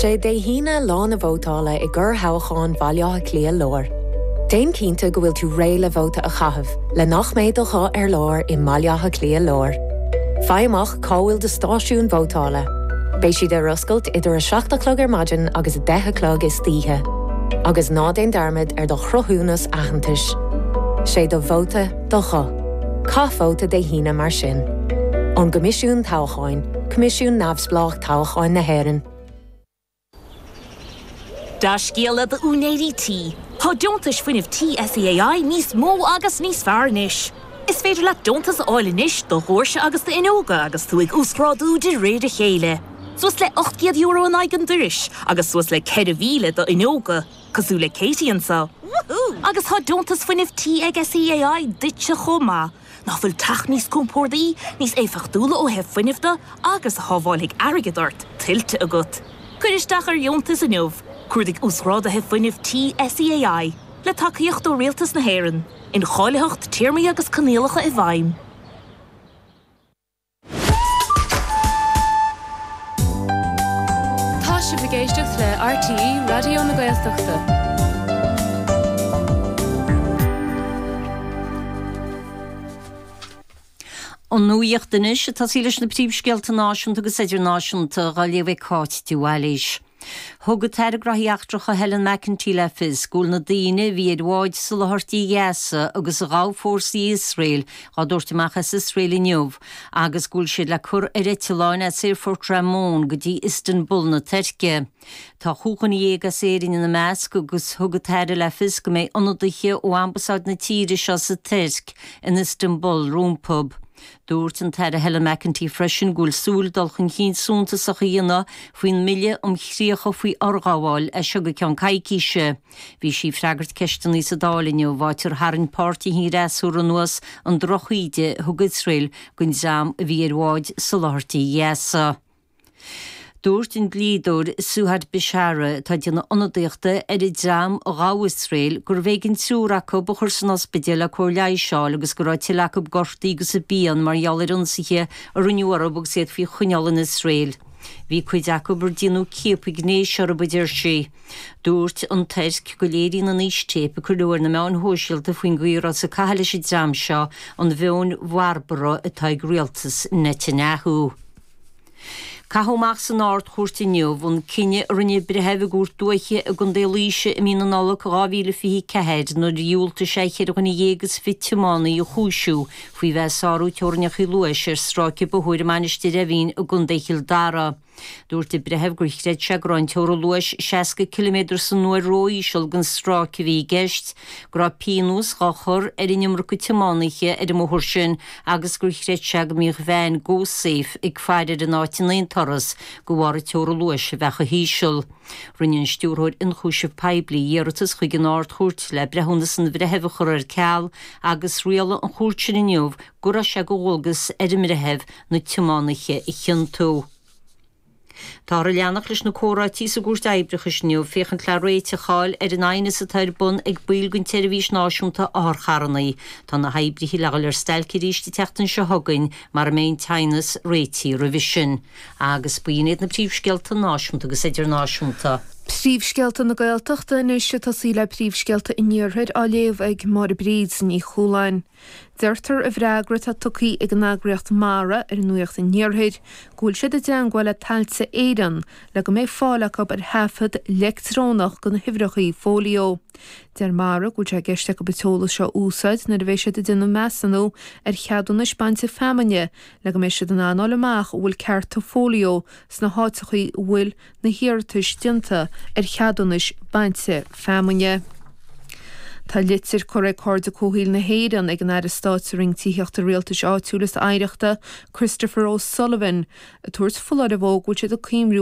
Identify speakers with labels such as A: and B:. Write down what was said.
A: Sé Dé hAoine lá na vótála i gcorrthoghchán Bhaile Átha Cliath Láir. Déan cinnte go bhfuil tú réidh le vóta a chaitheamh le nach mbeidh do ghuth ar lár i mBaile Átha Cliath Láir. Faigh amach cá bhfuil do stáisiún vótála. Beidh siad ar oscailt idir 7 a chlog ar maidin agus 10 a chlog istoíche. Agus ná déan dearmad ar do chruthúnas aitheantais. Sé do vóta do ghuth. Caith vóta Dé hAoine mar sin. Ón gCoimisiún Toghcháin, Coimisiún Neamhspleách Toghcháin na hÉireann.
B: Dea-scéala d'úinéirí tí, tá deontais fuinnimh tí SEAI níos mó agus níos fearr anois. Is féidir leat deontas a fháil anois do dhoirse agus d'fhuinneoga agus tú ag uasghrádú de réir a chéile. Suas le €800 in aghaidh an dorais agus suas le 4,000 d'fhuinneoga, cosúil le Katie anseo. Agus tá deontas fuinnimh tí ag SEAI duitse chomh maith. Nach bhfuil teach níos compordaí, níos éifeachtúla ó thaobh fuinnimh de agus a shábhálfaidh airgead ort, tuillte agat? Cuir isteach ar dheontas inniu! Cuardaigh Uasghráduithe Fuinnimh Tí SEAI, le tacaíocht ó Rialtas na hÉireann. Incháilitheacht, téarmaí agus coinníollacha i bhfeidhm.
C: Tá sibh ag éisteacht le RTÉ Raidió na Gaeltachta.
D: An nuacht anois, ag tosaí leis na príomhscéalta náisiúnta agus idirnáisiúnta, á léamh ag Cáit de Bhailís. Thug an tAire Gnóthaí Eachtracha Helen McEntee le fios go bhfuil na daoine a bhí ar bhád soláthairtí Ghaza agus a ghabh fórsaí Iosrael á dtabhairt amach as Iosrael inniu agus go bhfuil siad le cur ar eitleáin as Aerfort Ramon go dtí Istanbul na Tuirce. Tá chúig dhuine dhéag as Éirinn ina measc agus thug an tAire le fios go mbeidh ionadaithe ó Ambasáid na tíre seo sa Tuirc in Istanbul rompu. Dúirt an tAire Helen McEntee freisin go bhfuil súil dul chun cinn suntasach a dhéanamh faoin mBille um Chríocha faoi Fhorghabháil as seo go ceann coicíse. Bhí sí ag freagairt ceisteanna sa Dáil inniu, áit ar tharraing páirtithe an fhreasúra anuas an drochíde a thug Iosrael don dream a bhí ar bhád soláthairtí Ghaza. Dúirt an dlíodóir Suhad Bishara, atá ag déanamh ionadaíochta ar an dream a ghabh Iosrael, gurbh éigean triúr acu a chur san ospidéal le cóir leighis a fháil agus go raibh tuilleadh acu gortaithe agus i bpian mar gheall ar ionsaithe a rinneadh orthu agus iad faoi choinneáil in Iosrael. Bhí cuid acu ar déanadh ciapadh gnéis orthu, a deir sí. Dúirt an Tuirc go léiríonn an fhístéip a cuireadh ar na meáin shóisialta faoin gcaoi a rabhthas ag caitheamh leis an dream seo an mheon bharbarach atá ag rialtas Netanyahu. Caitheadh amach san Ard-Chúirt inniu an cinneadh a rinne breitheamh i gCúirt Dúiche i gContae Laoise i mí na Nollag 2024 nuair a dhiúltaigh sé cheithre dhuine dhéag is fiche tiománaí a chúisiú faoi bheith ag sárú teorainneacha luais ar stráice bóthair i Mainistir Eimhín i gContae Chill Dara. Dúirt an breitheamh gur chreid sé go raibh an teorainn luais 60 ciliméadar san uair ró-íseal don stráice a bhí i gceist, go raibh pionós dhá chur ar an iomarca tiománaithe ar an mbóthar sin agus gur chreid sé go mbíodh veain GoSafe ag faire ar an áit in aon turas de bharr an teora luais a bheith chomh híseal. Rinne an Stiúrthóir Ionchúiseamh Poiblí iarratas chuig an Ard-Chúirt le breithiúnas an bhreithimh a chur ar ceal agus rialaigh an chúirt sin inniu go raibh sé de dhualgas ar an mbreitheamh na tiománaithe a chiontú. Táthar ag leanacht leis na comhráití sa gCúirt Oibreachais inniu féachaint le réiteach a fháil ar an aighneas atá ar bun ag baill den tSeirbhís Náisiúnta Otharcharranna. Tá na hoibrithe le dhul ar stailc arís an tseachtain seo chugainn mara mbeidh an t-aighneas réitithe roimhe sin. Agus b'in iad na príomhscéalta náisiúnta agus idirnáisiúnta.
E: Príomhscéalta na Gaeltachta anois ag tosaí le príomhscéalta an Iarthair á léamh ag Máire Bríd Ní Chualáin. Deirtear i bhfreagra atá tugtha ag an eagraíocht Mara ar Nuacht an Iarthair go bhfuil siad i dteangmháil le Tailte Éireann le go mbeidh fáil acu ar thaifead leictreonach de na huimhreacha fóilió. Deir Mara go bhfuil sé i gceist acu an t-eolas seo a úsáid nuair a bheidh siad ag déanamh measúnú ar cheadúnais bainte feamainne le go mbeidh siad in ann fháil amach an bhfuil cearta fóilió sna háiteacha a bhfuil na hiarratais déanta ar cheadúnais bainte feamainne. Tá litir curtha ag Cairde Comhshaoil na hÉireann ag an Aire Stáit sa Roinn Tithíochta Rialtais Áitiúil is Oidhreachta, Christopher O'Sullivan, ag tabhairt foláireamh dhó go bhfuil siad ag cuimriú.